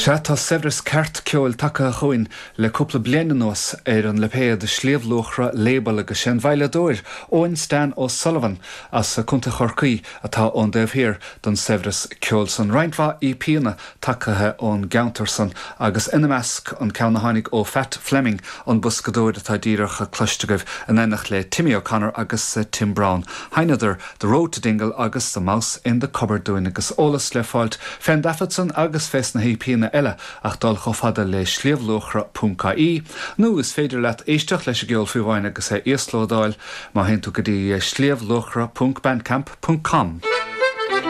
Sea, tá saibhreas ceart ceoil tagtha chugainn le cúpla bliain anuas ar an lipéad Sliabh Luachra Label agus sé an veidhleadóir Eoin Stan O'Sullivan as Contae Chorcaí atá ón dtaobh thiar den saibhreas ceoil san. Roinnt mhaith EPanna tagtha ón gceantar san agus ina measc an ceann a tháinig ó Phat Fleming, an boscadóir atá díreach cloiste agaibh, in éineacht le Timmy O'Connor agus Tim Browne. Sheinneadar The Road to Dingle agus The Mouse in the Cupboard dúinn agus eolas le fáilt fén dtaifead san agus fés na hEPanna eile ach dul chomh fada le sliabhluachra ponc ie nó is féidir leat éisteacht leis an gceol fiú amháin agus é íoslódáil má théann tú go dtí sliabhluachra ponc bandcamp ponc com.